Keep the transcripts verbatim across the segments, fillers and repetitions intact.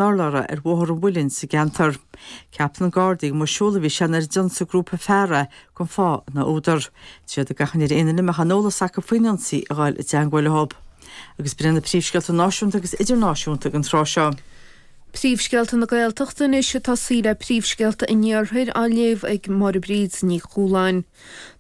urlár ar Bhóthar an Mhuilinn sa gceantar. Ceapann na Gardaí gur siúl a bhí sé nuair a d'ionsaigh grúpa fear é gan fáth ná údar. Tá siad ag achainí ar aon duine a mbeadh aon eolas acu faoin ionsaí a ghabháil i dteagmháil leo. Agus b'in na príomhscéalta náisiúnta agus idirnáisiúnta den tráth seo. Príomhscéalta na Gaeltachta anois ag tosaí le príomhscéalta an Iarthair á léamh ag Máire Bríd Ní Chualáin.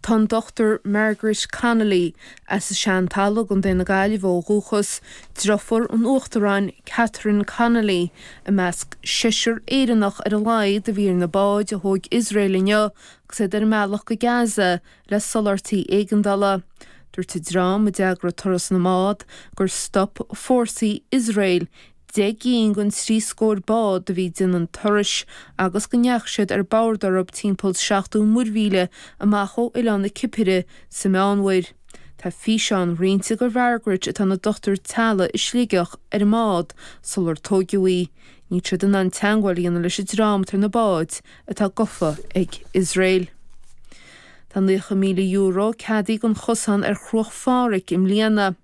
Tá an Dr Margaret Connolly as an Seantalamh i gContae na Gaillimhe ó dhúchas, deirfiúr an Uachtaráin Catherine Connolly, i measc seisear Éireannach ar a laghad a bhí ar na báid a thóg Iosrael inniu agus iad ar a mbealach go Gaza le soláthairtí éigeandála. Dúirt an dream a d'eagraigh turas na mbád gur stop fórsaí Iosrael deich gcinn den trí scór bád a bhí ag déanamh an turais agus go ndeachaigh siad ar bord orthu timpeall seachtó muirmhíle amach ó oileán na Cipire sa Meánmhuir. Tá físeán roinnte de Mhargaret atá ina dochtúir teaghlaigh i Sligeach ar an mbád sular tóigeadh í. Níl siad in ann teagmháil a dhéanamh leis an dream atá ar na báid atá gafa ag Iosrael. Tá naocha míle euro ceadaithe don chosán ar Chruach Phádraig i mbliana.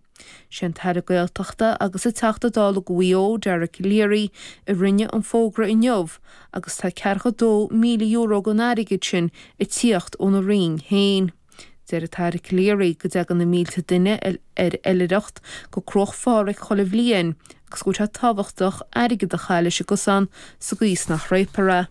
Sé an tAire Gaeltachta agus an Teachta Dála do Mhaigh Eo, Dara Calleary, a rinne an fógra inniu agus tá ceathracha dó míle euro den airgead sin ag tíocht óna Roinn féin. Deir an tAire Calleary go dtagann na mílte duine ar oilithreacht go Cruach Phádraig chuile bhliain agus go bhfuil sé tábhachtach airgead a chaitheamh leis an gcosán sa gcaoi is nach réabfar é.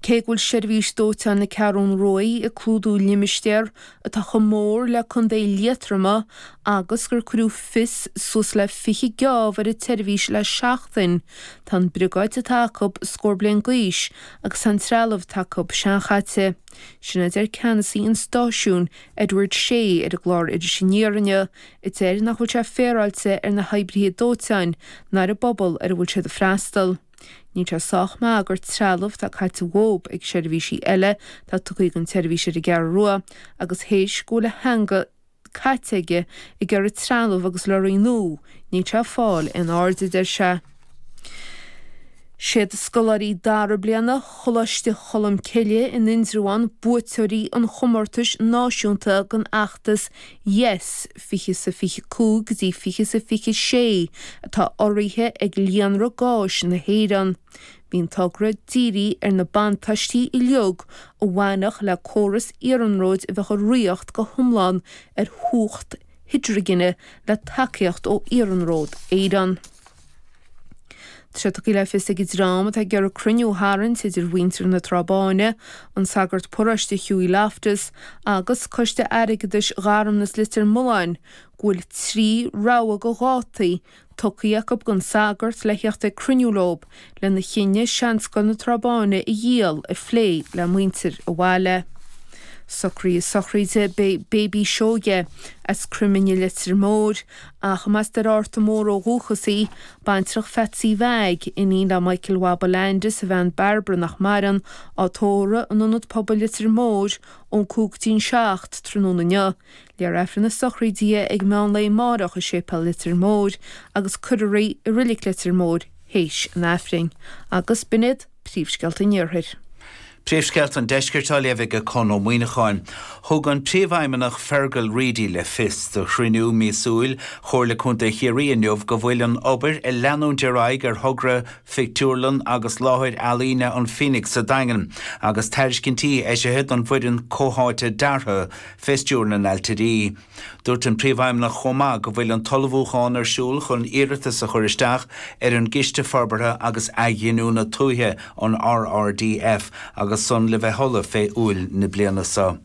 Cé go bhfuil seirbhís dóiteáin na Ceathrún Rua ag clúdú limistéar atá chomh mór le Contae Liatroma agus gur cuireadh fios suas le fiche geábh ar an tseirbhís le seachtain, tá an briogáid atá acu scór bliain d'aois agus tá an trealamh atá acu seanchaite. Sin a deir ceannasaí an stáisiúin, Edward Shea, ar an gclár Iris Aniar inniu, a deir nach bhfuil sé féaráilte ar na hoibrithe dóiteáin ná ar an bpobal ar a bhfuil siad ag freastal. Níl sé sách maith gur trealamh atá caite uathub ag seirbhísí eile atá tugtha don tseirbhís ar an gCeathrú Rua agus théis go bhfuil a theanga caite aige ag iarraidh trealamh agus lorraí nua, níl sé ag fáil aon aird, a deir sé. Siad scoláirí dara bliana Choláiste Cholm Cille in Indreabhán buaiteoirí an chomórtais náisiúnta den fheachtas Yes fiche is a fiche cúig go dtí fiche is a fiche sé atá urraithe ag Líonra Gáis na hÉireann. Bhí an togra dírithe ar na buntáistí uilig a bhainfeadh le córas iarnróid a bheadh ag rith go hiomlán ar chumhacht hidrigine le tacaíocht ó Iarnród Éireann. Tá sé tugtha le fios ag an dream atá ag iarraidh cruinniú a tharraingt idir mhuintir na Trá Báine, an sagart paróiste Hughie Loftus agus Coiste Airgeadais Gharmanas Leitir Mealláin go bhfuil trí rogha de dhátaí tugtha acu don sagart le theacht ag cruinniú leo lena chinneadh Seanscoil na Trá Báine a dhíol a phlé le muintir an bhaile. Socruithe sochraide Baby Seoige as Croimine Leitir Móir ach más Doire Fhatharta Mór ó dhúchas í, baintreach Phatsy Mheaig, iníon le Michael Waba Landis a bhean Barbara nach maireann, á tórramh in Ionad Pobail Leitir Móir ón cúig go dtí an seacht tráthnóna inniu. Léifear Aifreann na sochraide di ag meán lae amárach i Séipéal Leitir Móir agus cuirfear í i Reilig Leitir Móir théis an Aifrinn. Agus b'in iad príomhscéalta an Iarthair. Príomhscéalta an Deiscirt á léamh ag Conn Ó Muíneacháin. Thug an Príomhfheidhmeannach Fergal Reidy le fios do chruinniú míosúil Chomhairle Contae Chiarraí inniu go bhfuil an obair ag leanúint ar aghaidh ar thogra phictiúrlann agus láthair ealaíne an Phoenix sa Daingean agus tairiscintí eisithe don bhfoireann comhtháite deartha fé stiúir na n-ailtirí. Dúirt an Príomhfheidhmeannach chomh maith go bhfuil an t-ullmhúchán ar siúl chun iarratas a chur isteach ar an gCiste Forbartha agus Athghiniúna Tuaithe an RRDF agus san le bheith ullamh fé Iúil na bliana seo.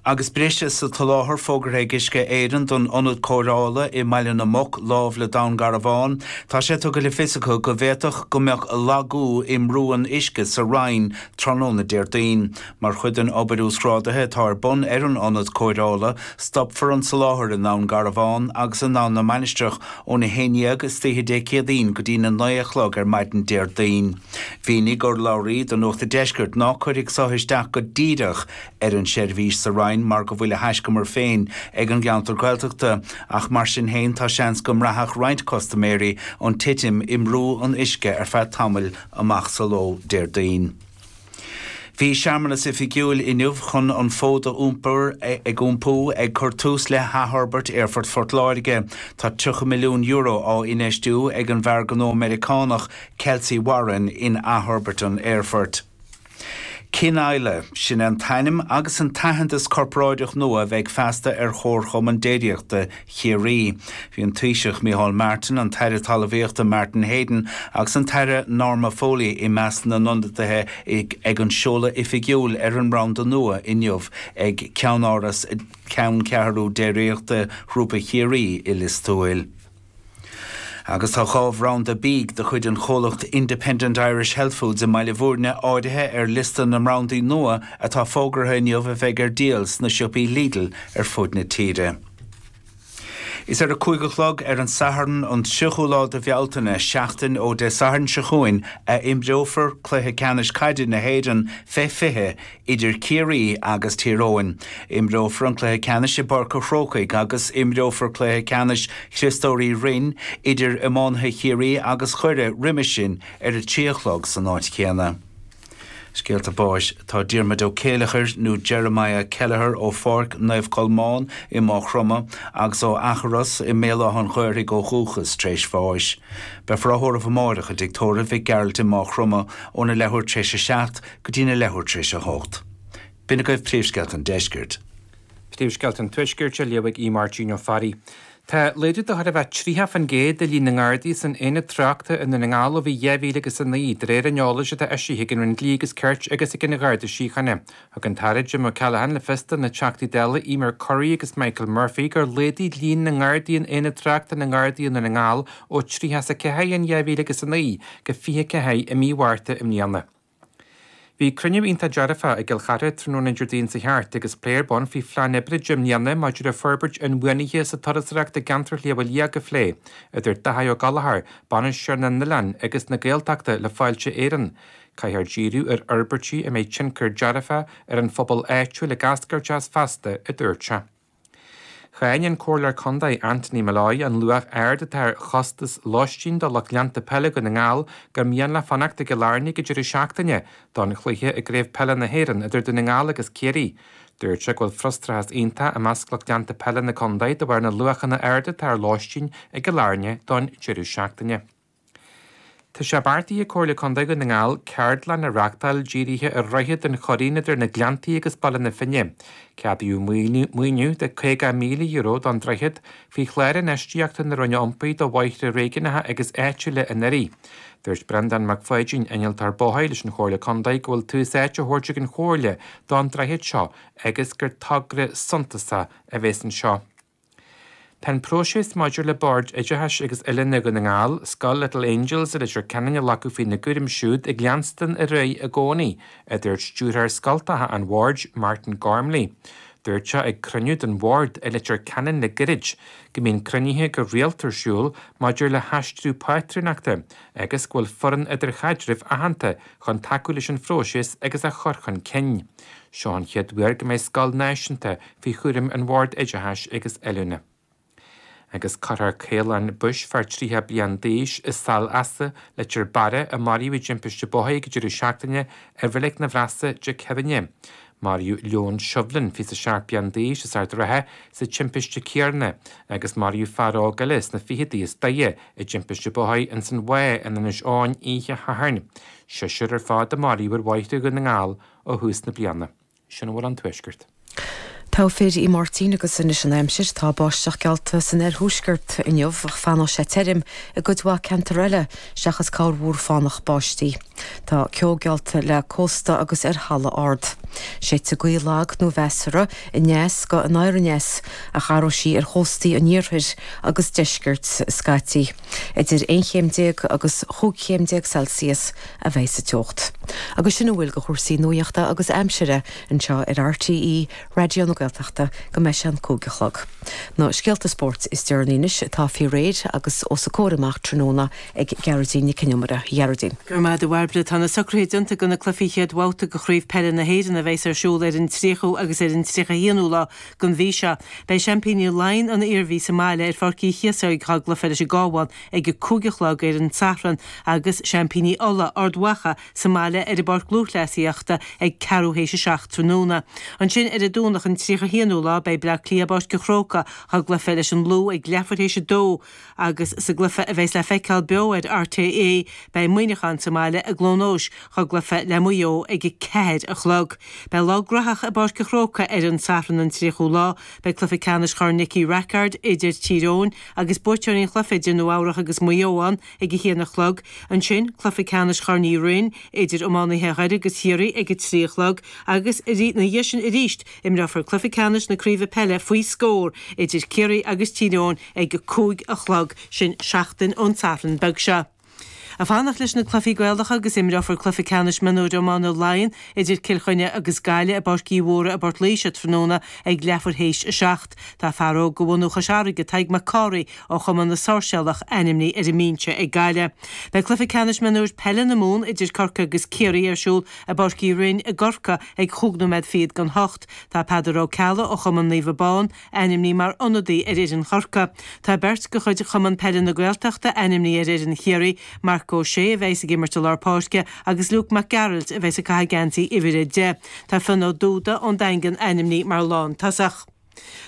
Agus briseadh sa tsoláthar fógartha ag Uisce Éireann don ionad cóireála i mBaile na Muc, láimh le Dún Garbhán, tá sé tugtha le fios acu go bhféadfadh go mbeadh lagú i mbrú an uisce sa Rinn tráthnóna Déardaoin. Mar chuid den obair uasghrádaithe atá ar bun ar an ionad cóireála, stopfar an soláthar i nDún Garbhán agus i nDún na Mainistreach óna haon dhéag istoíche Dé Céadaoin go dtí na naoi a chlog ar maidin Déardaoin. Mhínigh urlabhraí do Nuacht an Deiscirt ná cuirfidh so isteach go díreach ar an seirbhís sa Rinn mar go bhfuil a thaiscumar féin ag an gceantar Gaeltachta, ach mar sin féin tá seans go mbraithfeadh roinnt custaiméirí an titim i mbrú an uisce ar feadh tamaill amach sa ló Déardaoin. Bhí searmanas oifigiúil inniu chun an fód a iompar ag iompú ag cur tús le hathfhorbairt Aerfort Phort Láirge. Tá tríocha milliún euro á infheistiú ag an bhfear gnó Meiriceánach Kelcy Warren in athfhorbairt an aerfoirt. Cin Isla, sin an t-ainm agus an t-aitheantas corparáideach nua a bheidh feasta ar Chomharchumann Déiríochta Chiarraí. Bhí an Taoiseach Micheál Martin, an tAire Talmhaíochta Martin Heydon agus an tAire Norma Foley i measc na n-ionadaithe ag an seoladh oifigiúil ar an mbranda nua inniu ag ceannáras ceanncheathrú déiríochta Ghrúpa Chiarraí i Lios Tuathail. Agus tá dhá bhranda bídh de chuid an chomhlacht Independent Irish Health Foods i mBaile Bhúirne áirithe ar liosta na mbrandaí nua atá fógartha inniu a bheidh ar díol sna siopaí Lidl ar fud na tíre. Is ar a cúig a chlog ar an Satharn an tríochú lá de Bhealtaine seachtain ó Dé Sathairn seo chugainn a imreofar cluiche ceannais caide na hÉireann fé fiche idir Ciarraí agus Tír Eoghain. Imreofar an cluiche ceannais i bPáirc an Chrócaigh agus imreofar cluiche ceannais Chriostóirí Rinn idir iománaithe Chiarraí agus Dhoire roimhe sin ar a trí a chlog san áit chéanna. Scéalta báis tá Diarmuid Ó Céileachair nó Jeremiah Kelleher ó Pháirc Naomh Colmán i Maigh Chromtha agus ó Eachros i mBéal Átha an Ghaorthaidh ó dhúchas tar éis bháis. Beifear á thórramh amárach i dtigh tórraimh Mhic Gearailt i Maigh Chromtha óna leathuair tar éis a seacht go dtína leathuair tar éis a hocht. B'in agaibh príomhscéalta an deiscirt. Príomhscéalta an Tuaiscirt á léamh ag Máirtín Ó Fearraigh. Tá laghdú de chóir a bheith tríocha faoin gcéad i líon na nGardaí san aonad tráchta i nDún na nGall ó bhí dhá mhíle agus a naoi, de réir an eolais atá eisithe ag an Roinn Dlí agus Cirt agus ag an Gharda Síochána. Thug an tAire Jim O'Callaghan le fios do na Teachtaí Dála Emer Currie agus Michael Murphy gur laghdaigh líon na nGardaí in aonad tráchta na nGardaí i nDún na nGall ó tríocha is a ceathair in dhá mhíle agus a naoi go fiche ceathair i mí Mhárta i mbliana. Bhí cruinniú iontach dearfach i gCill Chartha tráthnóna Déardaoin seo thart agus plé ar bun faoi phlean oibre deich mbliana maidir le forbairt inbhuanaithe sa turasóireacht i gceantar Shliabh Liag a phlé, idir Daithí Ó Gallchóir, Bainisteoir na nOileán agus na Gaeltachta le Fáilte Éireann. Caithfear díriú ar fhorbairtí a mbeidh tionchar dearfach ar an phobal áitiúil ag eascairt as feasta, a dúirt sé. Cháin an Comhairleoir Contae Anthony Molloy an luach ard atá ar chostas lóistín do lucht leanta peile Dhún na nGall gur mian leo fanacht i gCill Airne ag an deireadh seachtaine don chluiche i gCraobh Peile na hÉireann idir Dún na nGall agus Ciarraí. Dúirt sé go bhfuil frustrachas iontach i measc lucht leanta peile na contae de bharr na luachanna arda atá ar lóistín i gCill Airne don deireadh seachtaine. Tá sé beartaithe ag Comhairle Contae Dhún na nGall ceardlann a reáchtáil dírithe ar Dhroichead an Churraoin idir na Gleanntaí agus Baile na Finne. Ceadaíodh maoiniú de caoga míle euro don droichead faoi chlár infheistíochta na Roinne Iompair do bhóithre réigiúnacha agus áitiúla anuraidh. Dúirt Breandán Mac Pháidín, innealtóir bóthair leis an Chomhairle Contae go bhfuil tús áite á thabhairt ag an Chomhairle don droichead seo agus gur togra suntasach a bheas anseo. Tá an próiseas maidir le Bord Oideachais agus Oiliúna Dhún na nGall, Scoil Little Angels i Leitir Ceanainn a ghlacadh faoina gcúram siúd ag leanstan ar aghaidh i gcónaí, a dúirt stiúrthóir scoltacha an bhoird, Martin Gormley. Dúirt sé ag cruinniú den bhord i Leitir Ceanainn le gairid go mbíonn cruinnithe go rialta ar siúl maidir le haistriú pátrúnachta agus go bhfuil foireann idirchaidrimh aitheanta chun tacú leis an phróiseas agus a chur chun cinn. Seo an chéad uair go mbeidh scoil náisiúnta faoi chúram an Bhoird Oideachais agus Oiliúna. Agus cuirfear Caolán Bush fear tríocha bliain d'aois i Sail Easa, Leitir Beara, a maraíodh i dtimpiste bóthair ag an deireadh seachtaine i Reilig na Bhreasa Dé Céadaoine. Maraíodh Leon Shovlin, fiche seacht bliain d'aois as Ard an Rátha, sa timpiste céanna agus maraíodh fear óg eile sna fichidí as Doire i dtimpiste bóthair ins an Mhaigh in Inis Eoghain oíche Shathairn. Seisear ar fad a maraíodh ar bhóithre Dhún na nGall ó thús na bliana. Sin a bhfuil ón Tuaisceart. Togha fir í Máirtín agus anois an aimsir tá báisteach geallta san oirthuaisceart inniu ach fanfaidh sé tirim i gcuid mhaith ceantar eile seachas corrmhúr fánach báistí. Tá ceo geallta le cósta agus ar thalamh ard. Séidfidh gaoth lag nó mheasartha aneas go anoir aneas ach athróidh sí ar chóstaí an iarthair agus deiscirt scaití. Idir aon chéim déag agus chúig chéim déag Celsius a bheidh sa teocht. Agus sin a bhfuil de chúrsaí nuachta agus aimsire anseo ar RTÉ Raidió na Gaeltachta go mbeidh sé an cúig a chlog. Na scéalta spóirt is deireanaí anois atá faoi réir agus os a comhair amach tráthnóna ag Gearóidín Nic Con Iomaire. Gearóidín. Go raibh maith agat a Bhairbre tá na socruithe déanta do na cluichí chéad bhabhta de Chraobh Peile na hÉireann a bheas ar siúl ar an tríochú agus ar an tríocha haonú lá den mhí seo. Beidh seaimpíní Laighean an Iarmhí sa mbaile ar Pháirc Uí Chíosóg dá gcluiche leis an gCabhán ag a cúig a chlog ar an Satharn agus seaimpíní Uladh Ard Mhacha sa mbaile ar an bPáirc Lúthchleasaíochta ag ceathrú théis a seacht tráthnóna. Ansin ar an Domhnach an tríocha haonú lá beidh Bleá Cliath i bPáirc an Chrócaigh dá gcluiche leis an Lú ag leathuair théis a dó agus sa gcluiche a bheas le feiceáil beo ar RTÉ beidh Muineachán sa mbaile i gCluain Eois dá gcluiche le Maigh Eo ag a ceathair a chlog. Beidh lá graitheach i bPáirc an Chrócaigh ar an Satharn an tríochú lá, beidh cluiche ceannais Chorn Nicky Rackard idir Tír Eoghain agus buaiteoirí an chluiche idir Nua Eabhrac agus Maigh Eo ann ag a haon a chlog, ansin cluiche ceannais Chorn Uí Rinn idir iománaithe Dhoire agus Chiarraí ag a trí a chlog agus ina dhiaidh sin arís imreofar cluiche ceannais na Craoibhe Peile faoi scór idir Ciarraí agus Tír Eoghain ag a cúig a chlog, sin seachtain ón Satharn beag seo. Ag fanacht leis na cluichí Gaelacha agus imreofar cluiche ceannais mionúir iomána Laighean idir Cill Chainnigh agus Gaillimh i bPáirc Uí Mhórdha i bPort Laoise tráthnóna ag leathuair théis a seacht. Tá fear óg de bhunú Chois Fharraige, Tadhg Mac Cárthaigh ó Chumann na Sáirséalach ainmnithe ar an mbinse ag Gaillimh. Beidh cluiche ceannais mionúir peile na Mumhan idir Corcaigh agus Ciarraí ar siúl i bPáirc Uí Rinn i gCorcaigh ag chúig nóiméad fichead don hocht. Tá Peadar Ó Ceallaigh ó Chumann Naomh Abán ainmnithe mar ionadaí ar fhoireann Chorcaí. Tá beirt de chuid Chumann Peile na Gaeltachta ainmnithe ar fhoireann Chiarraí, Marc Ó Sé a bheas ag imirt i lár páirce agus Luke Mac Gearailt a bheas ag caitheamh geansaí uimhir a deich. Tá Fionn Ó Dúda ón Daingean ainmnithe mar lántosach.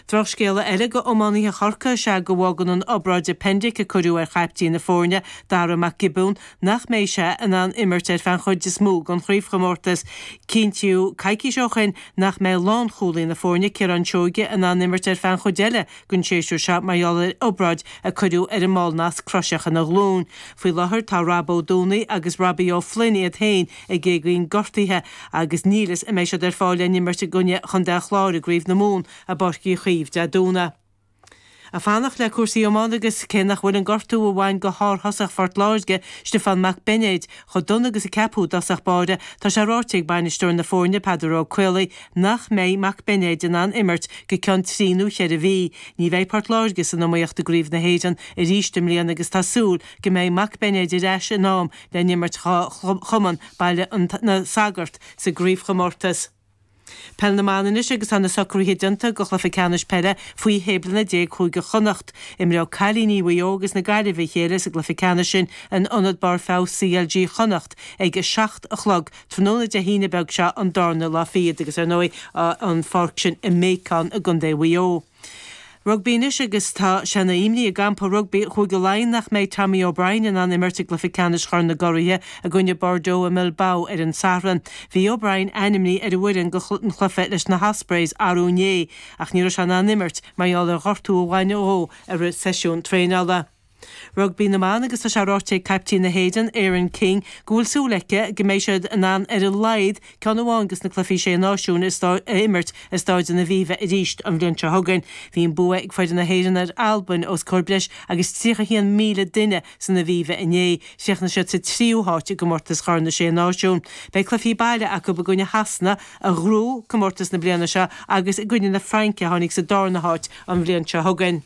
Drochscéala eile do iománaithe Chorcaí is ea go bhfágann an obráid appendix a cuireadh ar chaiptín na foirne, Dara Mac Giobúin, nach mbeidh sé in ann imirt ar feadh an chuid is mó den chraobhchomórtas. Cinntíodh coicís ó shin nach mbeidh lánchúlaí na foirne, Ciarán Seoige, in ann imirt ar feadh an chuid eile den séasúr seo mar gheall ar obráid a cuireadh ar an mballnasc croiseach ina ghlúin. Faoi láthair tá Rob Ó Dúnaí agus Robbie Ó Floinn iad féin ag éagaoin gortaithe agus níl fhios an mbeidh siad ar fáil le n-imirt i gcoinne Chontae an Chláir i gCraobh na Mumhan i bPáirc Uí Chaoimh Dé Domhnaigh. Ag fanacht le cúrsaí iomána agus cé nach bhfuil an gortú a bhain go shárthosach Phort Láirge, Stiofán Mac Beinéid, chomh dona agus a ceapadh i dtosach báire, tá sé ráite ag bainisteoir na foirne, Peadar Ó Caollaí, nach mbeidh Mac Beinéid in ann imirt go ceann trí nó cheithre mhí. Ní bheidh Port Láirge san iomaíocht i gCraobh na hÉireann arís i mbliana agus tá súil go mbeidh Mac Beinéid ar ais in am le n-imirt dá chumann Baile na Sagart sa gcraobhchomórtas. Peil na mBan anois agus tá na socruithe déanta do chluiche ceannais peile faoi shé bliana déag Chúige Chonnacht. Imreoidh cailíní Mhaigh Eo agus na Gaillimhe a chéile sa gcluiche ceannais sin in Ionad Barr Feabhais CLG Chonnacht ag a seacht a chlog tráthnóna Dé hAoine beag seo an darna lá fichead agus ar ndóigh an pháirc sin i mBéacán i gContae Mhaigh Eo. Rugbaí anois agus tá sé ina imní i gcampa rugbaí Chúige Laighean nach mbeidh Tommy O'Brien in ann imirt i gcluiche ceannais Chorn na gCuraithe i gcoinne Bordeaux i mBilbao ar an Satharn. Bhí O'Brien ainmnithe ar an bhfoireann don chluiche leis na hOspreys arú inné ach ní raibh sé in ann imirt mar gheall ar ghortú a bhain dhó i rith seisiún traenála. Rugbaí na mBan agus tá sé ráite ag caiptín na hÉireann, Erin King, go bhfuil súil aici go mbeidh siad in ann ar a laghad ceann amháin de na cluichí Sé Náisiún a imirt i Staid an Aviva arís an bhliain seo chugainn. Bhí an bua ag foireann na hÉireann ar Albain os comhair breis agus tríocha haon míle duine san Aviva inné. Chríochnaigh siad sa tríú háit i gcomórtas Chorn na Sé Náisiún. Beidh cluichí baile acu i gcoinne Shasana, a ghnóthaigh comórtas na bliana seo, agus i gcoinne na Fraince, a tháinig sa darna háit an bhliain seo chugainn.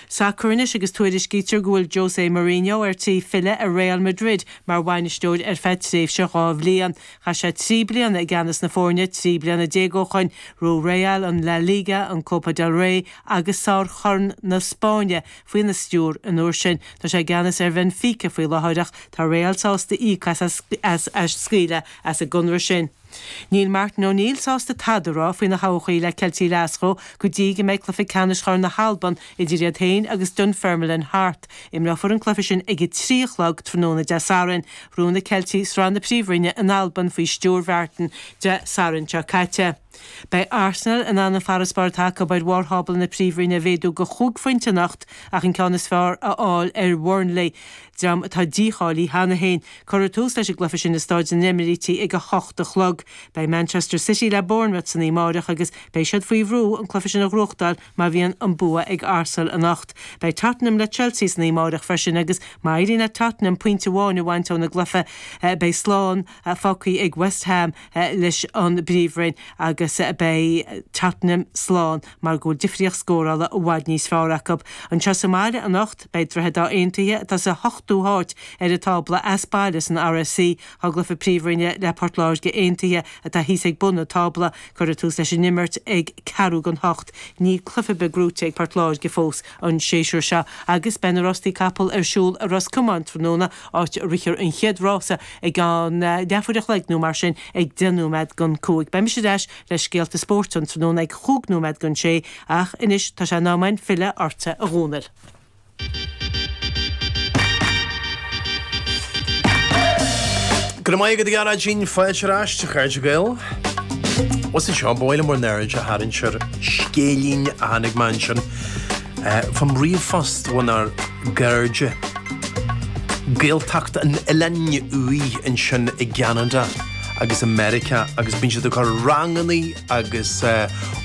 Sacar anois agus tuairiscítear go bhfuil Jose Mourinho ar tí filleadh ar Real Madrid mar bhainisteoir ar feadh tréimhse dhá bhliain. Chaith sé trí bliana i gceannas na foirne trí bliana déag ó shoin. Ghnóthaigh Real an La Liga, an Copa del Rey agus Sár-Chorn na Spáinne faoina stiúir an uair sin. Tá sé i gceannas ar Bhenfica faoi láthair ach tá Real sásta íoc as as scaoileadh as an gconradh sin. Níl Martin O'Neill sásta tada a rá faoina thodhchaí le Ceiltigh Ghlaschú go dtí go mbeidh cluiche ceannais Chorn na hAlban idir iad féin agus Dunfermline thart. Imreofar an cluiche sin ag a trí a chlog tráthnóna Dé Sathairn. Ghnóthaigh na Ceiltigh Sraith na Príomhroinne in Albain faoi stiúir Mhartin Dé Sathairn seo caite. Beidh Arsenal in ann an farasbarr atá acu ar bharr thábla na Príomhroinne a mhéadú go chúig phointe anocht ach an ceann is fearr a fháil ar Bhurnley, dream atá dícháilithe cheana féin. Cuirfear tús leis an gcluiche sin i Staid na nEimíríte ag a hocht a chlog. Beidh Manchester City le Bournemouth san oíche amárach agus beidh siad faoi bhrú an cluiche sin a ghnóthachtáil má bhíonn an bua ag Arsenal anocht. Beidh Tottenham le Chelsea san oíche amárach freisin agus má éiríonn le Tottenham pointe amháin a bhaint óna gcluiche beidh slán fágtha ag West Ham leis an bPríomhroinn agus uireasa a beidh Tottenham slán mar go bhfuil difríocht scórála i bhfad níos fearr acu. Anseo sa mbaile anocht beidh Droichead Átha Aontaithe atá sa hochtú háit ar an tábla as baile san RSC i gcluiche príomhroinne le Port Láirge Aontaithe atá thíos ag bun an tábla. Cuirfear tús leis an imirt ag ceathrú don hocht. Níl cluiche ar bith gnóite ag Port Láirge fós an séasúr seo agus beidh na rástaí capall ar siúl i Ros Comáin tráthnóna áit a rithfear an chéad rása ag an leathuair a chloig nó mar sin ag deich nóiméad don cúig. Beidh mise ar ais le scéalta spóirt an tráthnóna ag chúig nóiméad don sé ach anois tá sé in am againn filleadh ortsa a Dhónaill. Go raibh maith agat a Ghearóidín, fáilte ar ais, a chairde Gael. Bhfuil fhios agat seo, ba mhaith liom bhur n-aird a tharraingt ar scéilín a tháinig mé ansin fán ríomhphost ónár gcairde. Gaeltacht an Oileáin Uaidh ansin i gCeanada agus i Meiriceá agus bíonn siad ag cur rangannaí agus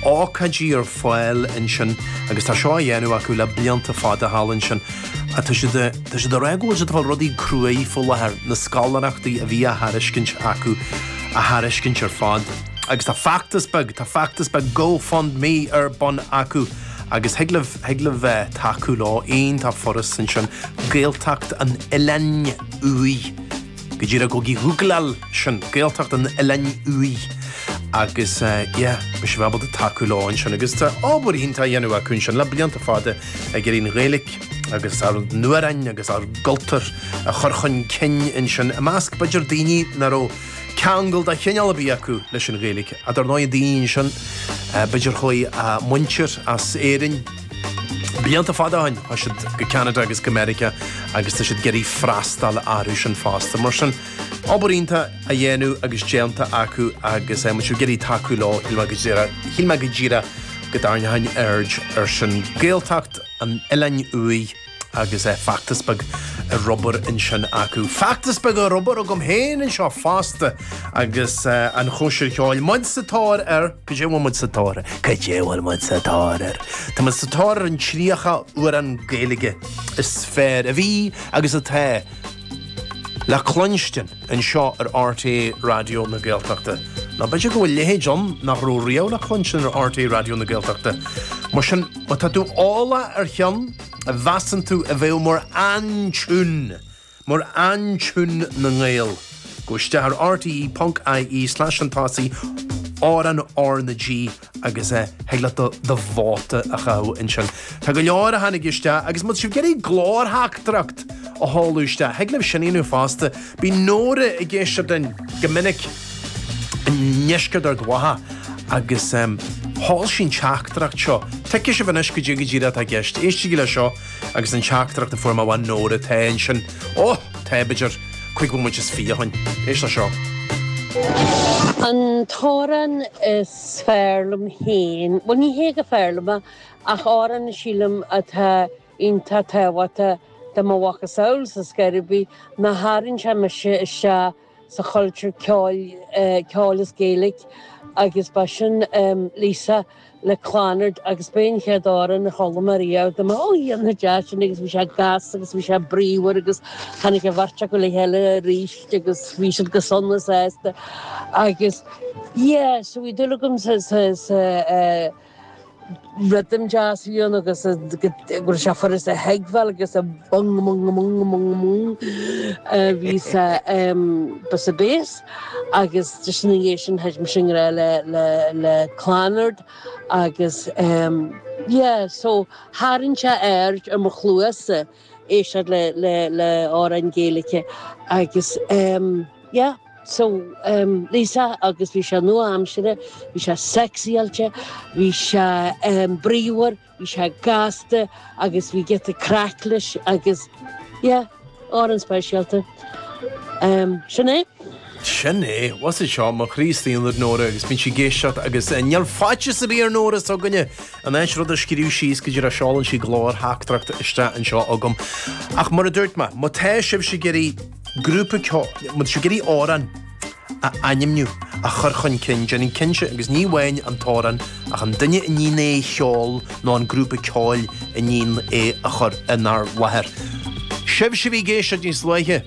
ócáidí ar fáil ansin agus tá seo á dhéanamh acu le blianta fada thall ansin. Tá siad tá siad ag rá go bhfuil siad ag fáil rudaí cruaidh faoi láthair, na scoláireachtaí a bhí á thairiscint acu a thairiscint ar fad. Agus tá feachtas beag, tá feachtas beag GoFundMe ar bun acu Agus thig libh, thig libh bheith tacú leo, iontach furast ansin, Gaeltacht an Oileáin Uaidh. Go díreach gabhaigí gúgláil sin, Gaeltacht an Oileáin Uaidh. Agus yeah, beidh sibh ábalta tacú leo ansin. Agus tá obair iontach á dhéanamh acu ansin le blianta fada ag iarraidh an Ghaeilge agus ár n-amhráin agus ár gcultúr a chur chun cinn ansin i measc b'fhéidir daoine nach raibh ceangal de chineál ar bith acu leis an Ghaeilge. Dar ndóigh daoine ansin, b'fhéidir chuaigh a muintir as Éirinn blianta fada ó shin, chuaigh siad go Ceanada agus go Meiriceá agus tá siad ag iarraidh freastal orthu sin fosta. Mar sin, obair iontach á dhéanamh agus déanta acu agus má tá sibh ag iarraidh tacú leo, shíl mé go díreach, shíl mé go díreach go dtarraingeoinn aird ar sin. Gaeltacht an Oileáin Uaidh. agus feachtas beag ar obair ansin acu. Feachtas beag ar obair agam féin anseo fosta agus an chóisir cheoil. Muid sa tóir ar, cad é bhfuil muid sa tóir air? Cad é bhfuil muid sa tóir air? Tá muid sa tóir ar an tríocha amhrán Gaeilge is fearr a bhí agus atá le cluinstin anseo ar RTÉ Raidió na Gaeltachta. Nó b'fhéidir go bhfuil a leithéid ann nach raibh riamh le cluinstin ar RTÉ Raidió na Gaeltachta. Mar sin, má tá tú eolach ar cheann a mheasann tú a bheadh mar aintiún, mar aintiún na nGael, gabh isteach ar rte ponc ie slash chun tosaigh amhrán R na G agus thig leat do vóta a chaitheamh ansin. Tá go leor a tháinig isteach agus má tá sibh ag iarraidh glórtheachtaireacht a sheoladh isteach, thig libh sin a dhéanamh fosta. Bíonn Nóra ag éisteacht linn go minic i ndeisceart Ard Mhacha agus sheol sí an teachtaireacht seo. Tuigfidh sibh anois cad é go díreach atá i gceist. Éistigí le seo agus an teachtaireacht a fuair mé ó Nóra atá ansin. Ó! Tá b'fhéidir cúig bhomaite is fiche ó shin. Éist le seo. An t-amhrán is fearr liom féin, bhuel ní hé gur fearr liom é, ach amhrán sílim atá iontach tábhachtach do mo mhacasamhail sa scor ar bith, ná tharraing sé mise isteach sa chultúr ceoil, ceoil as Gaeilge agus ba sin Lisa le Clannad agus b'é an chéad amhrán a chuala mé riamh dúirt mé ó iontach deas sin agus bhí sé gasta agus bhí sé bríomhar agus tháinig an bheirt acu le chéile arís agus bhí siad go sona sásta agus yeah so bhí dúil agam sa sa sa eh, rhythm deas a bhí ann agus go raibh sé furast a thuigbheáil agus a bung mung mung mung mung a bhí sa ba sa bass agus just ina dhiaidh sin thit mise i ngrá le le le Clannad agus yeah so tharraing sé aird ar mo chluasa éisteacht le le le amhráin Gaeilge agus yeah. So, Lisa, agus bhí sé nua-aimseartha, bhí sé sexyáilte, bhí sé bríomhar, bhí sé gasta agus bhí giota craic leis agus, yeah, amhrán speisialta. Sin é. Sin é. Bhfuil fhios agat seo, mo chroí istigh ionad Nóra agus bíonn sí ag éisteacht agus níl faitíos ar bith ar Nóra s'againne in áit rud a scríobh síos go díreach seolann sí glórtheachtaireacht isteach anseo chugam. Ach mar a dúirt mé, má tá sibhse ag iarraidh grúpa ceoil, má tá sibh ag iarraidh amhrán a ainmniú, a chur chun cinn, déanaigí cinnte, agus ní amháin an t-amhrán, ach an duine a níonn é a cheol nó an grúpa ceoil a níonn é a chur inár láthair. Sibhse a bhí ag éisteacht níos luaithe,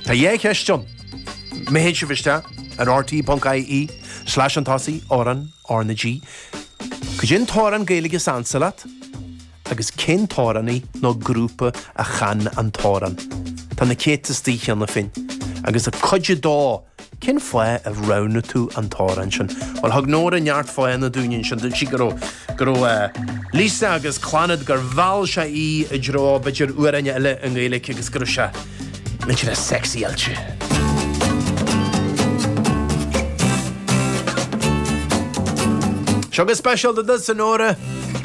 tá dhá cheist ann. Má théann sibh isteach ar rte.ie Slais chun tosaigh, amhrán, R na G. Cad é an t-amhrán Gaeilge is ansa leat? Agus cén t-amhránaí nó grúpa a chan an t-amhrán? Tá na céadta istigh cheana féin. Agus a cuid a dó, cén fáth a roghnaigh tú an t-amhrán sin? Bhuel, thug Nóra neart fáthanna dúinn ansin. Dúirt sí go raibh, go raibh eh, Lisa agus Clannad gur mheall sé í i dtreo b'fhéidir amhráin eile i nGaeilge agus go raibh sé millteanach sexy-áilte. Seo go speisialta duit, a Nóra!